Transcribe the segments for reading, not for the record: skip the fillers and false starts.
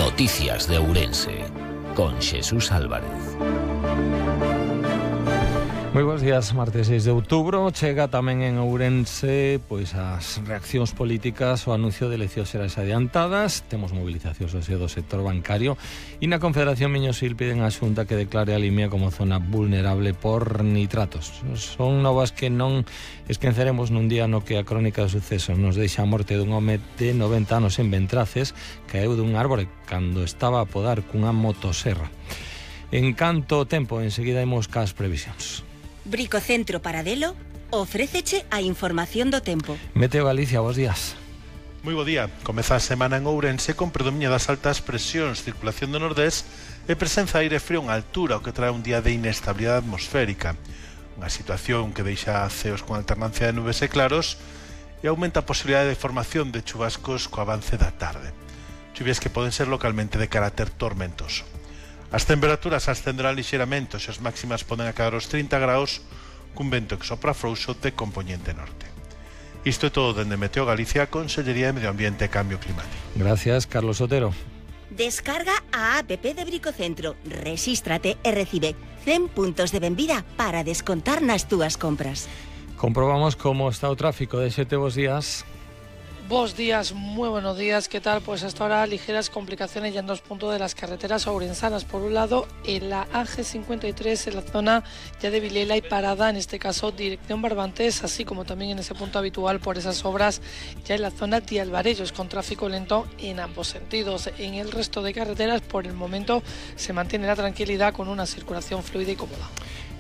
Noticias de Ourense, con Xesús Álvarez. Moi bons días, martes 6 de outubro. Chega tamén en Ourense pois as reaccións políticas ao anuncio de eleccións xerais adiantadas. Temos movilizacións do sector bancario e na Confederación Miño-Sil piden á Xunta que declare a Limia como zona vulnerable por nitratos. Son novas que non esqueceremos nun día no que a crónica de sucesos nos deixa a morte dun home de 90 anos en Ventraces, caeu dun árbore cando estaba a podar cunha motoserra. En canto tempo, enseguida imos cas previsións. Bricocentro Paradelo ofréceche a información do tempo. Meteo Galicia, bos días. Moi bo día. Comeza a semana en Ourense con predominio das altas presións, circulación do nordés e presenza de aire frío en altura, o que trae un día de inestabilidade atmosférica. Unha situación que deixa ceos con alternancia de nubes e claros e aumenta a posibilidade de formación de chubascos co avance da tarde. Chuvias que poden ser localmente de carácter tormentoso. As temperaturas ascenderán lixeiramente, e as máximas poden acadar os 30 graus cun vento que sopra frouxo de compoñente norte. Isto é todo dende Meteo Galicia, Consellería de Medio Ambiente e Cambio Climático. Gracias, Carlos Otero. Descarga a app de Bricocentro, rexístrate e recibe 100 puntos de benvida para descontar nas túas compras. Comprobamos como está o tráfico de Xete, bos días. Buenos días, muy buenos días, ¿qué tal? Pues hasta ahora ligeras complicaciones ya en dos puntos de las carreteras ourensanas. Por un lado, en la AG53, en la zona ya de Vilela y Parada, en este caso dirección Barbantes, así como también en ese punto habitual por esas obras ya en la zona de Alvarellos, con tráfico lento en ambos sentidos. En el resto de carreteras, por el momento, se mantiene la tranquilidad con una circulación fluida y cómoda.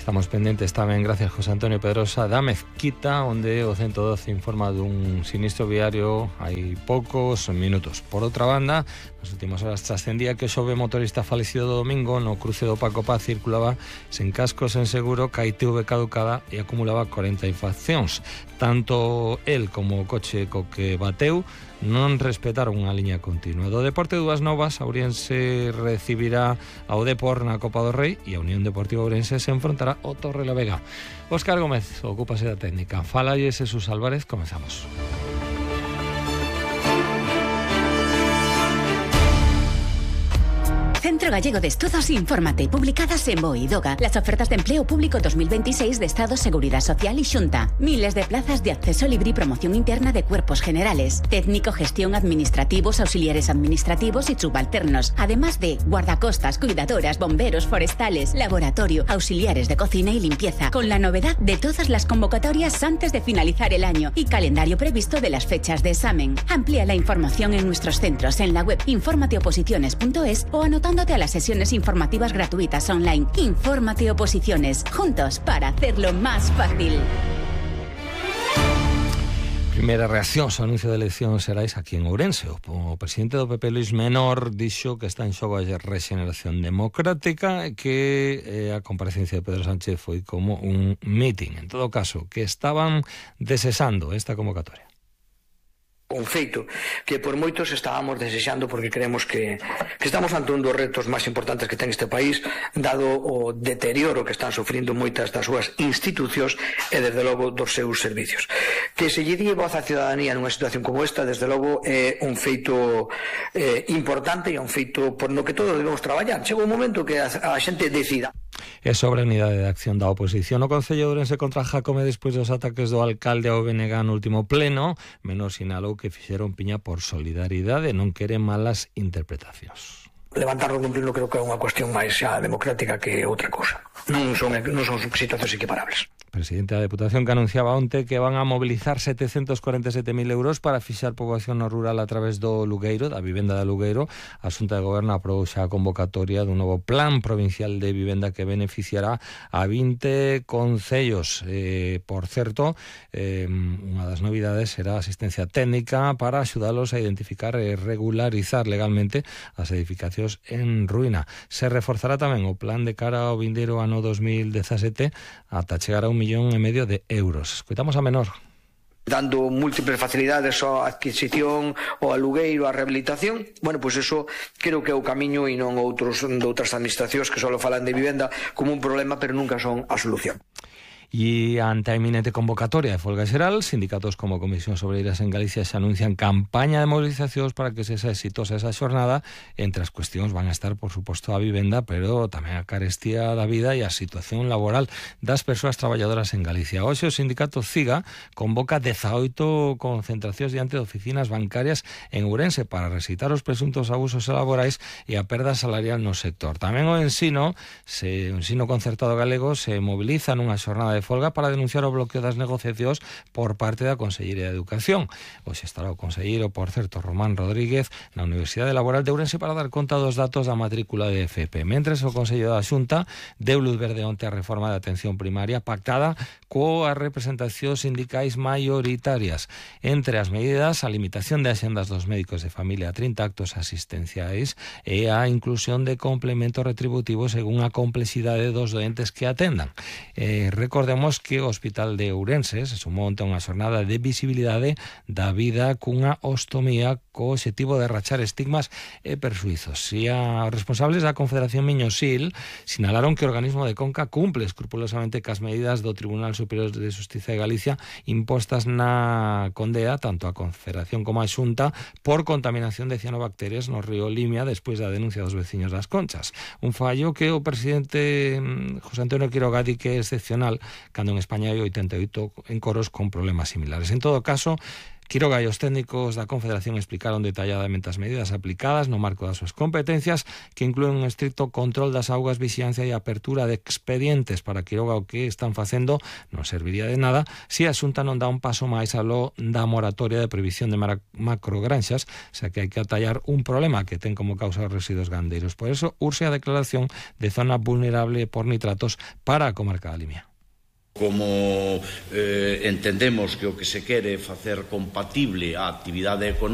Estamos pendentes tamén, gracias José Antonio Pedrosa, da Mezquita, onde o 112 informa dun sinistro viario hai poucos minutos. Por outra banda, nas últimas horas trascendía que o xove motorista falecido do domingo no cruce do Paco Paz circulaba sen casco, sen seguro, ca ITV caducada e acumulaba 40 infraccións. Tanto el como o coche co que bateu non respetaron unha liña continua. Do deporte, dúas novas. Ourense recibirá ao Depor na Copa do Rei e a Unión Deportiva Ourense se enfrontará ao Torrelavega. Óscar Gómez ocúpase da técnica. Fala Xesús Álvarez, comezamos. Centro Gallego de Estudos Infórmate, publicadas en BOE y DOGA. Las ofertas de empleo público 2026 de Estado, Seguridad Social y Xunta. Miles de plazas de acceso libre y promoción interna de cuerpos generales. Técnico, gestión, administrativos, auxiliares administrativos y subalternos. Además de guardacostas, cuidadoras, bomberos, forestales, laboratorio, auxiliares de cocina y limpieza. Con la novedad de todas las convocatorias antes de finalizar el año y calendario previsto de las fechas de examen. Amplía la información en nuestros centros en la web informateoposiciones.es o anotándote a las sesiones informativas gratuitas online. Infórmate Oposiciones, juntos para hacerlo más fácil. Primeira reacción ao anuncio de eleccións xerais aquí en Ourense. O presidente do PP, Luis Menor, dixo que está en xogo a rexeneración democrática e que a comparecencia de Pedro Sánchez foi como un meeting. En todo caso, que estaban desexando esta convocatoria. Un feito que por moitos estábamos desexando, porque creemos que estamos ante un dos retos máis importantes que ten este país, dado o deterioro que están sufrindo moitas das súas institucións e desde logo dos seus servicios. Que se lle dí voz á ciudadanía nunha situación como esta, desde logo é un feito importante e un feito por no que todos debemos traballar. Chega un momento que a xente decida. E sobre a unidade de acción da oposición, o Concello de Ourense contra Jácome despois dos ataques do alcalde ao BNG no último pleno, Menor sinalou que fixeron piña por solidaridade e non quere malas interpretacións. Levantar o cumplirlo creo que é unha cuestión máis xa democrática que outra cousa. Non son situacións equiparables. Presidente da Deputación que anunciaba onte que van a mobilizar 747.000 euros para fixar poboación no rural a través do Lugueiro, da vivenda da Lugueiro. A Xunta de Goberno aprobou xa a convocatoria dun novo plan provincial de vivenda que beneficiará a 20 concellos. Por certo, unha das novidades será a asistencia técnica para axudalos a identificar e regularizar legalmente as edificacións en ruína. Se reforzará tamén o plan de cara ao vindeiro ano 2017 ata chegar a 1,5 millón de euros. Escoitamos a Menor. Dando múltiples facilidades á adquisición, ao alugueiro, á rehabilitación, bueno, pois eso creo que é o camiño e non outras administracións que só falan de vivenda como un problema, pero nunca son a solución. E ante a eminente convocatoria de folga xeral, sindicatos como Comisións Obreiras en Galicia se anuncian campaña de movilizacións para que sexa exitosa esa xornada. Entre as cuestións van a estar, por suposto, a vivenda, pero tamén a carestía da vida e a situación laboral das persoas traballadoras en Galicia. Hoxe o sindicato CIGA convoca 18 concentracións diante de oficinas bancarias en Ourense para recitar os presuntos abusos laborais e a perda salarial no sector. Tamén o ensino concertado galego se moviliza nunha xornada de folga para denunciar o bloqueo das negociacións por parte da Consellería de Educación. Hoxe estará o conselleiro, por certo, Román Rodríguez, na Universidade Laboral de Ourense para dar conta dos datos da matrícula de FP. Mentres, o Consello da Xunta deu luz verde onte a reforma da atención primaria pactada coas representacións sindicais maioritarias. Entre as medidas, a limitación de axendas dos médicos de familia a 30 actos asistenciais e a inclusión de complementos retributivos según a complexidade dos doentes que atendan. Recordemos que o Hospital de Ourense se sumou onte a unha xornada de visibilidade da vida cunha ostomía co obxectivo de rachar estigmas e persuizos. E os responsables da Confederación Miñosil sinalaron que o organismo de Conca cumple escrupulosamente cas medidas do Tribunal Superior de Xustiza de Galicia impostas na condea tanto a Confederación como a Xunta por contaminación de cianobacterias no río Limia despois da denuncia dos veciños das Conchas. Un fallo que o presidente José Antonio Quiroga di que é excepcional cando en España hai 88 encoros con problemas similares. En todo caso, Quiroga e os técnicos da Confederación explicaron detalladamente as medidas aplicadas no marco das súas competencias, que incluen un estricto control das augas, vixiancia e apertura de expedientes. Para Quiroga, o que están facendo non serviría de nada se a Xunta non dá un paso máis aló da moratoria de prohibición de macrogranxas, xa que hai que atallar un problema que ten como causa os residuos gandeiros. Por eso, urxe a declaración de zona vulnerable por nitratos para a comarca da Limia. Como entendemos que o que se quere facer compatible a actividade económica